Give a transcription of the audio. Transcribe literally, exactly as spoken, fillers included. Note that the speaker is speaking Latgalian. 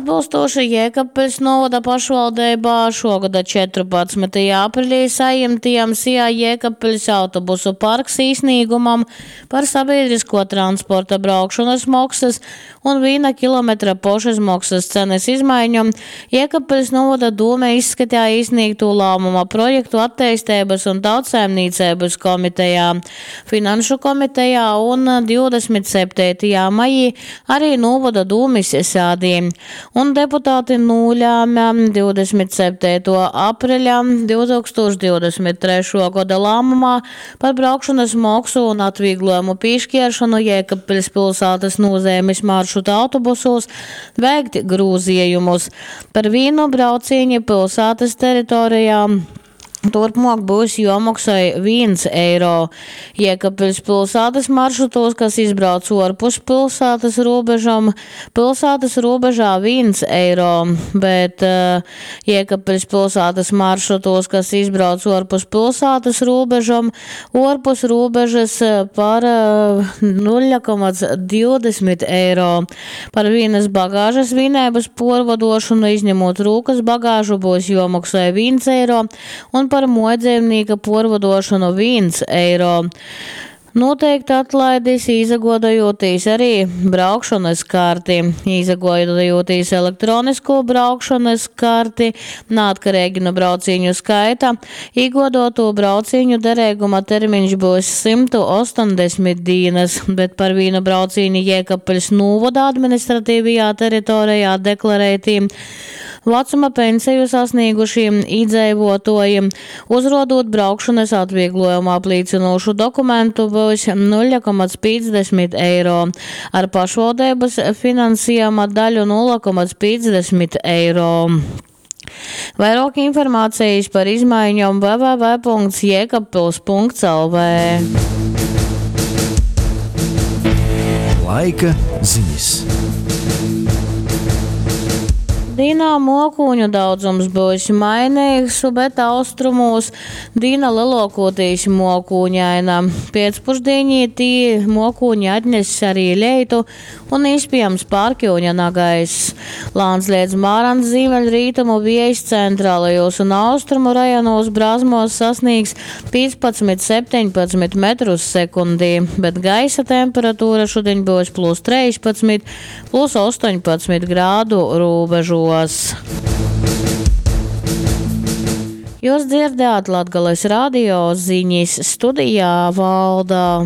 Atbilstoši Jēkabpiļs novada pašvaldeibā šogada četrpadsmytajā aprelī sajimtajam S I A Jēkabpiļs autobusu parks īsnīgumam par sabiedrisko transporta braukšanas moksas un viena kilometra pošizmaksas cenas izmaiņom Jēkabpiļs novada dūme izskatīja iesniegto lēmuma projektu attīstības un tautsaimniecības komitejā, Finanšu komitejā un divdesmit septītajā maijī arī novada dūmes sēdī. Un deputāti nolēma divdesmit septīto apreļa divtūkstoš divdesmit trešo gada lēmumā par braukšanas moksu un atvieglojumu piešķiršanu Jēkabpiļs pilsētas nozīmes maršruta autobusos veikt grūzījumus. Par vienu braucienu pilsētas teritorijā turpmāk būs jāmaksā viens eiro. Jēkabpiļs pilsētas maršrutos, kas izbrauc ārpus pilsētas robežām, pilsētas robežā viens eiro, bet, eh, Jēkabpiļs pilsētas maršrutos, kas izbrauc ārpus pilsētas robežām, ārpus robežas par, eh, nulle komats divdesmit eiro. Par vienas bagāžas vienības porvadošanu, izņemot rūkas bagāžu, būs jāmaksā viens eiro un par muojdzīvnieka porvadošanu viens eiro. Noteikti atlaidis izagodojoties arī braukšanas karti. Izagodojoties elektronisko braukšanas karti, neatkarīgi no brauciņu skaita, iegodoto brauciņu derīguma termiņš būs simtu astoņdesmit dienas, bet par vienu brauciņu Jēkabpiļs novada administratīvajā teritorijā deklarētīm vecuma pensiju sasniegušiem iedzīvotājiem, uzrodot braukšanas atvieglojumu apliecinošu dokumentu būs nulle komats piecdesmit eiro, ar pašvaldības finansējuma daļu nulle komats piecdesmit eiro. Vairāk informācijas par izmaiņām w w w punkts jēkabpils punkts l v. Laika ziņas. Dīnā mokūņu daudzums būs mainīgs, bet austrumos dīna lielākoties mokūņaina. Pēcpusdienī tī mokūņi atness arī leitu un iespējams pārkļūņa nagaiss. Lāns liedz mārans ziemeļrietumu vējs centrālajos un austrumu rajonos brāzmos sasniegs piecpadsmit septiņpadsmit metrus sekundī, bet gaisa temperatūra šodien būs plus trīspadsmit, plus astoņpadsmit grādu robežos. Jūs dzirdējāt Latgales radio ziņas studijā Valda.